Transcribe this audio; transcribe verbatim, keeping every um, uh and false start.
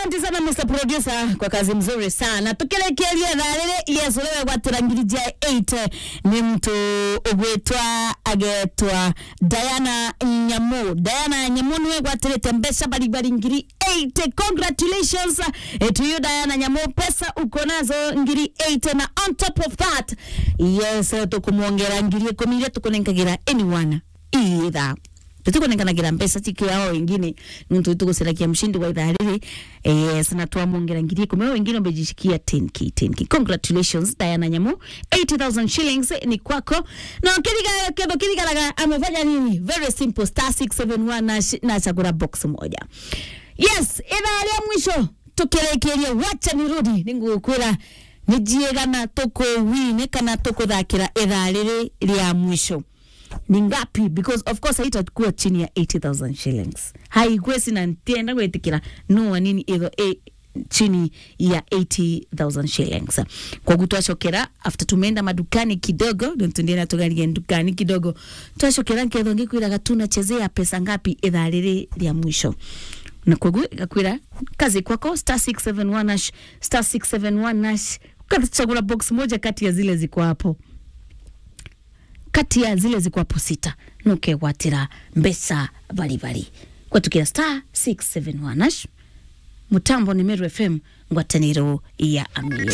Asante sana, Mister Producer, kwa kazi mzuri sana. Tukirekeria thaa riri, yes, uria wegwatira ngiri ja eight ni mtu ugwitwa, agetwa Diana Nyamu. Diana Nyamu niwe egwatirite mbeca baribari ngiri eight. Congratulations, eh, to you, Diana Nyamu. Pesa uko nazo ngiri eight, na on top of that, yes, eh, tukumwongera ngiri ikumi iria tukunenkagira anyone ii ithaa. Tutikunenganagira mbeca cikiao ingine, nontu tuguciragia mshindi wa ithaa riri. Yes, na twamwongera ngiri ikumi, o wengine umejishikia ten K, ten K. Congratulations, Diana Nyamu. Eighty thousand shillings ni kwako. Na kiriga, ketho kirigaraga amefanya nini? Very simple, star six seven one hash, na chagura box moja. Yes, ithaa ria mwisho, tukirikiria, wacha nirudi, ningukwira ni jiegana tukuwine kana tukuthakira ithaa riri ria mwisho. Ni ngapi? Because of course haitakuwa chini ya eighty thousand shillings. Haigwesi, na ntienda gwitikira no anini itho e chini ya eighty thousand shillings. Koguo twacokera, after tumeenda madukani kidogo, nontu ndienda tugarie ndukani kidogo, twacokera nkethwa ngikwiraga tunachezea pesa ngapi ithaa riri ria mwisho. Na koguo igakwira, kazi kwako, star six seven one hash, star six seven one hash, ukachagura box moja kati ya zile ziko hapo. Kati ya zile ziko hapo sita, nukegwatira mbeca bari bari. Gwatukira star six seven one hash. Mutambo ni Meru F M, ngwataniro ya Amiru.